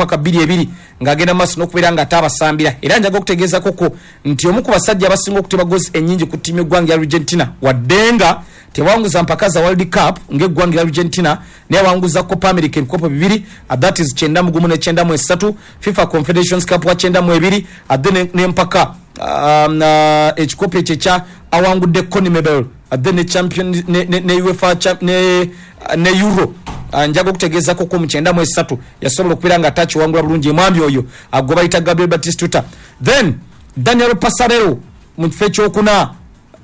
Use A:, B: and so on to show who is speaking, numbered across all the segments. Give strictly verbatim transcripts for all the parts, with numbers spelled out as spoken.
A: paka bbiri ebiri ng'agenda maaso n'okubeera nga ate abasambira. Era njaga okutegeezakoko nti omu ku basajja abasinga okuteba goals ennyingi ku ttiimu y'eggwanga ya Argentina, wadde nga tewanguza mpaka za World Cup ng'eggwanga lya Argentina, naye awanguza Copa America ebikopo bibiri, uh, that is kyenda mu gumu ne kyenda mu esatu, FIFA Confederations Cup wa kyenda mu ebiri, ate ne- n'empaka um, uh, ekikopo ekyo ekya awangudde CONMEBOL, ate ne champion ne, ne, ne UEFA cha- ne, ne Euro. Uh, njaga okutegeezako ko mu kyenda mu esatu yasobola okubeera nga atakiwangula bulungi. Omwami oyo uh, gwe bayita Gabriel Batistuta. Then Daniel Passarello mu kifo ekyokuna.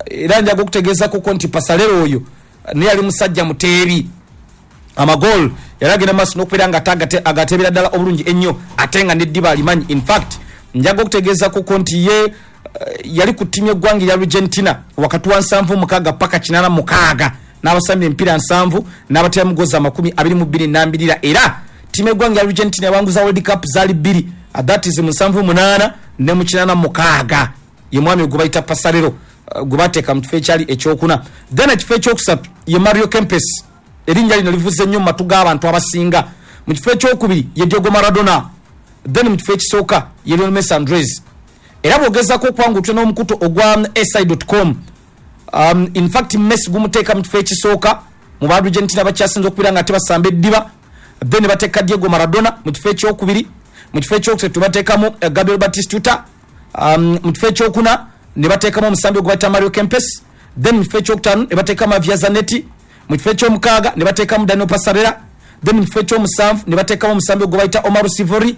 A: Era njaga okutegeezako ko nti Passarello oyo naye yali musajja muteebi amagol, yali agenda maaso n'okubeera nga ate agate- agatebera ddala obulungi ennyo, ate nga neddiba alimanyi. In fact, njaga okutegeezako ko nti ye eh, yali ku ttiimu y'eggwanga erya Argentina wakati wa nsanvu mukaaga paka kinaana mukaaga, n'abasambira emipiira nsanvu n'abatera mugozi amakumi abiri mu bbiri nambirira. Era ttiimu y'eggwanga erya Argentina yawanguza World Cup zaali bbiri, uh, that is mu nsanvu munaana ne mu kinaana mukaaga. Ye mwami gwe bayita Passarello, uh, gwe bateeka mu kifo ekyali ekyokuna. Then ekifo ekyokusatu ye Mario Kempes, erinnya lino livuze nnyo mu matu g'abantu abasinga. Mu kifo ekyokubiri ye Diego Maradona. Then mu kifo ekisooka ye Lionel Messi Andres. Era bwogezako okwangutya n'omukutu ogwa S I com, um, in fact Messi gumuteeka mu kifo ekisooka mu ba Argentina bakyasinza okubeera nga tebasamba eddiba. Then bateeka Diego Maradona mu kifo ekyokubiri. Mu kifo ekyokusatu bateekamu eh, Gabriel Batistuta. um, mu kifo ekyokuna ne bateekamu omusambi ogwe bayita Mario Kempes. Then mu kifo ekyokutaano ne bateekamu Javier Zanetti. Mu kifo ekyomukaaga ne bateekamu Daniel Passarella. Then mu kifo ekyomusanvu ne bateekamu omusambi ogwe bayita Omar Sivori.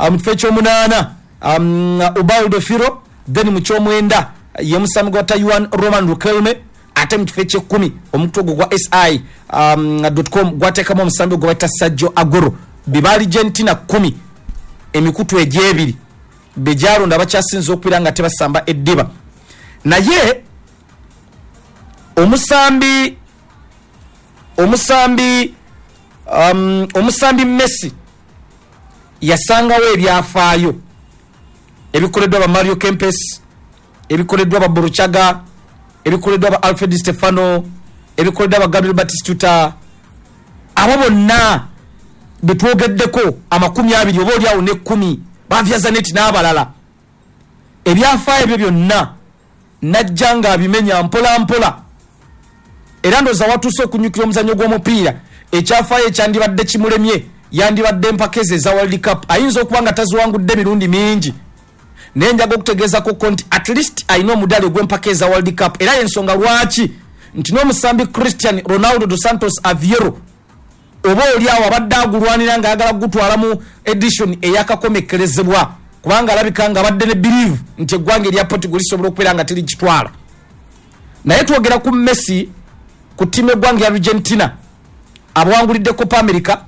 A: uh, mu kifo ekyomunaana um, Ubaldo Fillol. Then mu kyomwenda ye musambi gwa Juan Roman Riquelme. Ate mu kifo ekyekkumi omukutu ogwo gwa S I um, com gwateekamu omusambi gwe bayita Sergio Aguero. Biba Argentina kumi, emikutu egyebiri begyalonda bakyasinza okubeera nga tebasamba eddiba. Naye omusambi omusambi um, omusambi Messi yasangawo ebyafaayo ebikoleddwa ba Mario Kempes, ebikoleddwa ba Burruchaga, ebikoleddwa ba Alfred Stefano, ebikoleddwa ba Gabriel Batistuta. Abo bonna betwogeddeko amakumi abiri oba oliawo nekkumi, ba Zanetti n'abalala, ebyafaayo ebyo byonna najja nga abimenya mpola mpola. Era ndowooza watuuse okunyukira omuzannyo gw'omupiira, ekyafaayo ekyandibadde kimulemye yandibadde empaka ezo eza World Cup. Ayinza okuba nga taziwangudde emirundi mingi, naye njaga okutegeezako nti at least alina omudaali ogw'empaka eza World Cup. Era yensonga lwaki nti n'omusambi Cristiano Ronaldo dos Santos Aviero oba oli awo abadde agulwanira ng'ayagala kugutwala mu edition eyakakomekerezebwa, kubanga alabika nga abadde ne believe nti eggwanga erya Portugal lisobola okubeera nga terikitwala. Naye twogera ku Messi ku ttiimu eggwanga ya Argentina, abawangulidde Copa America,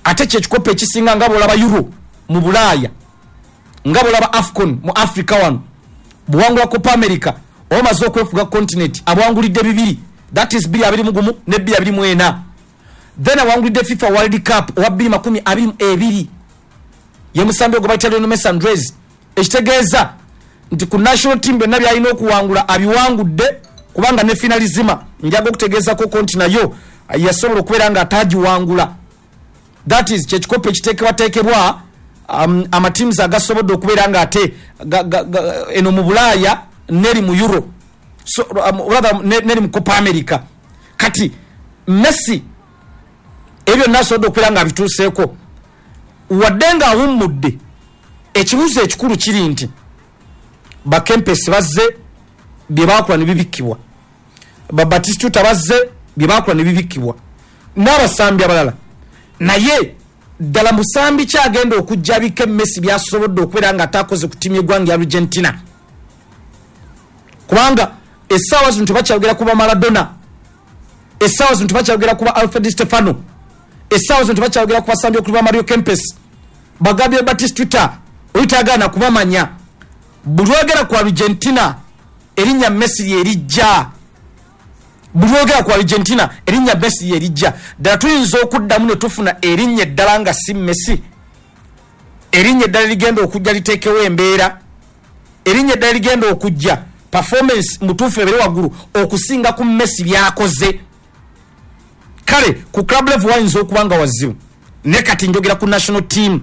A: ate kyekikopo ekisinga nga bwolaba Euro mu Bulaaya, nga bwolaba AFCON mu Africa wano. Bwewangula Copa America oba omaze okwefuga continent. Abawangulidde bibiri, that is bbiri abiri mu gumu ne bbiri abiri mu ena. Then awangulidde FIFA World Cup owa bbiri makumi abiri mu ebiri. Ye musambi ogwe bayita Lionel Messi Andres. Ekitegeeza nti ku national team byonna byalina okuwangula abiwangudde, kubanga ne Finalissima njaga okutegeezako nti nayo yasobola okubeera nga atagiwangula, that is kyekikopo ekiteekebwateekebwa um, amateams agasobodde okubeera nga ate ga- ga- ga- eno mu Bulaaya neri mu Euro, so, um, rather ne- neri mu Copa America. Kati Messi ebyo byonna asobodde okubeera nga abituuseeko wadde nga awummudde. Ekibuuzo ekikulu kiri nti Bakempesi bazze bye bakola ne bibikkibwa, Babatistuta bazze bye bakola ne bibikkibwa, n'abasambi abalala. Naye ddala musambi kyagenda okujja abika Messi byasobodde okubeera nga atakoze ku ttiimu y'eggwanga ya Argentina? Kubanga essaawa zino tebakyayogera kuba Maradona, essaawa zino tebakyayogera kuba Alfred Stefano, essaawa zino tebakyayogera ku basambi okuli ba Mario Kempes, ba Gabriel Batistuta, oyitagaana kubamanya. Buli lwogera ku Argentina erinnya Messi lyerijja. Buli lwogera ku Argentina erinnya Messi lyerijja. Ddala tuyinza okuddamu ne tufuna erinnya eddala nga si Messi, erinnya eddala ligenda okujja liteekewo embeera, erinnya eddala ligenda okujja performance mutuufu ebere waggulu okusinga ku Messi byakoze? Kale ku club level wayinza okuba nga wazibu, ne kati njogera ku national team.